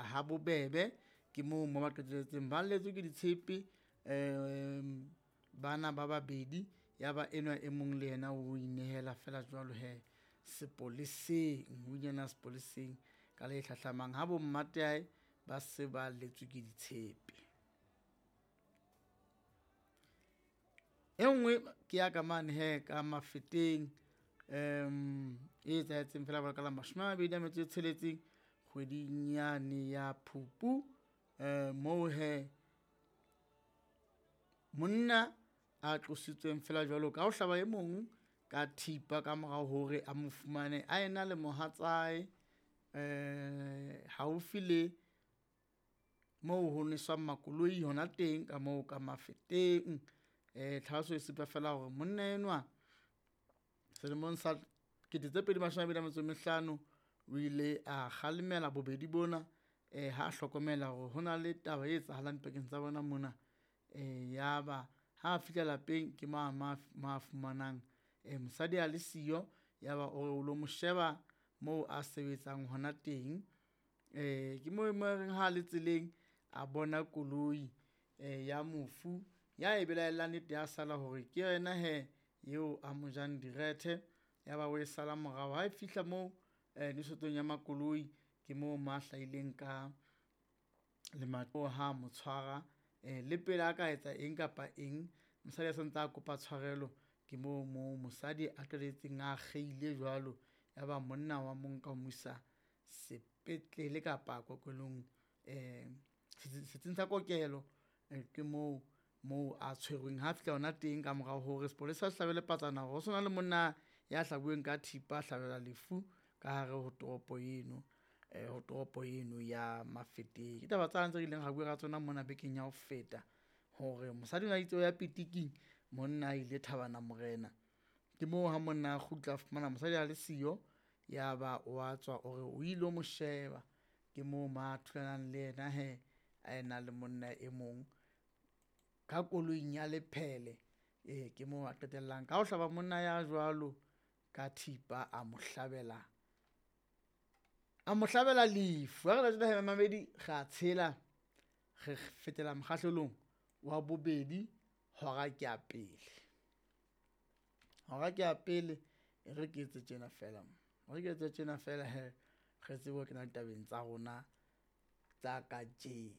ya ha bobebe. Ke moo mo ba qetelletseng ba lletswe ke ditshepe bana ba babedi, ya ba enwa e mong le yena o inehela fela jwalo he sepoleseng, o inehela sepoleseng ka le hlahlamang ha bo mmatae ba se ba lletswe ke ditshepe. E nngwe ke ya ka mane he ka Mafeteng, e etsahetseng fela ka la 26 kgweding yane ya Phupu. Moo he monna a tlositsweng fela jwalo ka ho hlaba e mong ka thipa ka morao hore a mo fumane a ena le mohatsae haufi le moo ho neswang makoloi hona teng ka moo ka Mafeteng. Tlhaloso e supa fela hore monna enwa selemong sa 2025 o ile a kgalemela bobedi bona ha hlokomela hore hona le taba e etsahalang pakeng tsa bona mona. Ya ba ha fihla lapeng ke mo ma fumanang mosadi a le siyo, ya ba o re o lo mo sheba moo a sebetsang hona teng. Ke moo mo reng ha le tseleng a bona koloi ya mofu ya e belaellang nnete ya sala hore ke yena he eo a mo jang direthe. Ya ba o e sala morao ha e fihla moo nwesetsong ya makoloi, ke moo mo a hlahileng ka ha mo tshwara le pele a ka etsa eng kapa eng, mosadi a santse a kopa tshwarelo. Ke moo mo mosadi a qetelletseng a akgehile jwalo, ya ba monna wa mo nka o mo isa sepetlele kapa kokelong setsing sa kokelo. Ke moo moo a tshwerweng ha fihla hona teng ka morao hore sepolesa se hlabele patsana hore ho sona le monna ya hlabuweng ka thipa, a hlabelwa lefu ka hare ho toropo eno, ho toropo eno ya Mafeteng. Ke taba tsane tse ileng ra bua ka tsona mona bekeng ya ho feta hore mosadi o na itse o ya pitiking, monna a ile Thabana Morena. Ke moo ha monna a kgutla a fumana mosadi a le siyo, ya ba wa tswa o re o ilo mo sheba. Ke moo ma thulanang le yena he a ena le monna e mong ka koloing ya lephele. Ke moo a qetellang ka ho hlaba monna ya jwalo ka thipa, a mo hlabela, a mo hlabela lefu. Ha re le mamedi re a tshela, re fetela mokgahlelong wa bobedi hora ke ya pele. Hora ke ya pele, e re ke etse tjena fela, re ke etse tjena fela he re tsebe ho kena ditabeng tsa rona tsa kajeno.